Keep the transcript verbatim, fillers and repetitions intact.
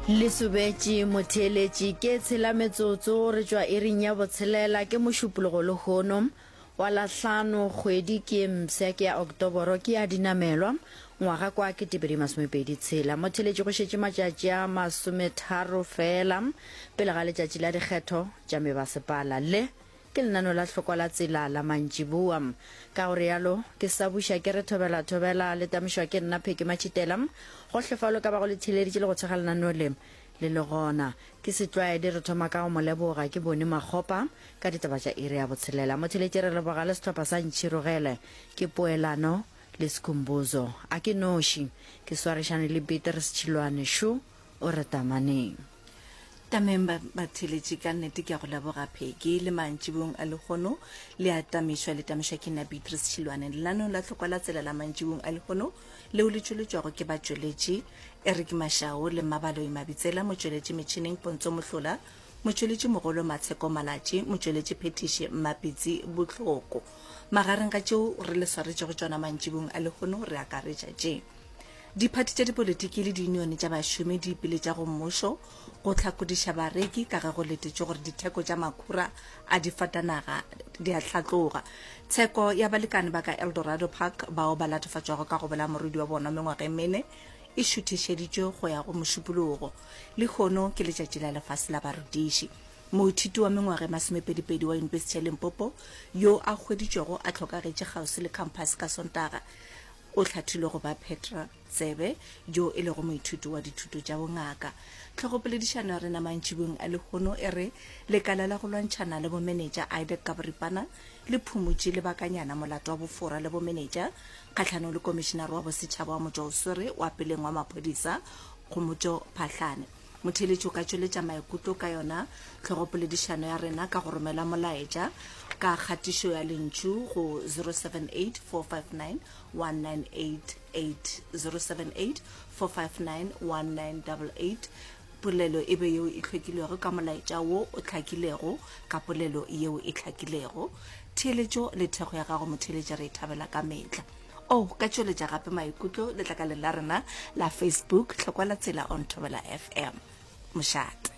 Le sobetše motheeletši ke tshela metsotso re tšwa iring ya botshelela ke mošupologo lehono wa lahlano kgwedi ke mpsha ke ya Oktoboro ke ya dinamelwa ngwaga kwa ketepedi masomepedi tshela. Motheeletši go šetše matšatši a masometharo fela pele ga letšatši la dikgetho tša mebasepala. Le ke lenaneo la hlokwa la tsela la mantšiboa. Ka go realo ke sa buša ke re thobela thobela le tamišwa ke nna Pheki Matšhitela. Gohle fao le ka bago le theeleditše le go tshega lenaneo le le le gona. Ke setlwaedi re thoma ka go mo leboga ke bone Makgopa ka ditaba tša iri ya botshelela. Motheeletši re leboga le sehlopha sa Ntšhirogele ke Poelano le Skhumbuzo. A ke noši ke swarišane le Beatrice Tšhilwane šo o re tamaneng. Tameng ba batheeletši ka nnete ke a go leboga Pheki le mantšibong a lehono le a tamišwa le tamišwa ke nna Beatrice Tšhilwane. Lenaneong la tlhokwa la tsela la mantšibong a lehono leo le tšweletšwago ke batšweletši Eric Mashao le Mmabaloi Mabitsela, motšweletši metšhineng Pontso Mohlola, motšweletši mogolo Matsheko Malatši, motšweletši phethiši Mmapitsi Bohloko. Magareng ga tšeo re le swaretšego tšona mantšibong a lehono re akaretša tše: Diphathi tša dipolitiki le diunione tša bašomi di ipiletša go mmušo go hlakodiša bareki ka ge go letetšwe gore ditheko tša makhura a difatanaga di a hlatloga. Tsheko ya balekane ba ka Eldorado Park bao ba latofatšwago ka go bolaya morwedi wa bona mengwaga e mene e šuthišeditšwe go ya go Mošupologo. Lehono ke letšatši la lefase la barutiši. Moithuti wa mengwaga e masomepedipedi wa Yunibesithi ya Limpopo yo a hweditšwego a hlokagetše kgauswi le khamphase ka Sontaga o hlathilwe go ba Petra Tsebe yo e lego moithuti wa dithuto tša bongaka. Tlhogopoledišano ya rena mantšibong a lehono e re lekala la go lwantšhana le bomenetša IDAC ka boripana le phumotše lebakanyana molato wa bofora le bomenetša kgahlanong le komišinare wa bosetšhaba wa motšwaoswere wa peleng wa maphodisa Khomotšo Phahlane. Motheeletši o ka tšweletša maikutlo ka yona tlhogopoledišano ya rena ka go romela molaetša ka kgatišo ya lentšu go zero seven eight four five nine one nine eight eight, zero seven eight four five nine one nine double eight. Polelo e be yeo e hlwekilego ka molaetša wo o hlakilego ka polelo yeo e hlakilego. Theeletšo le thekgo ya gago motheeletši re e thabela ka mehla. O ka tšweletša gape maikutlo letlakaleng la rena la Facebook, Hlokwa la Tsela on Thobela F M. Mošate.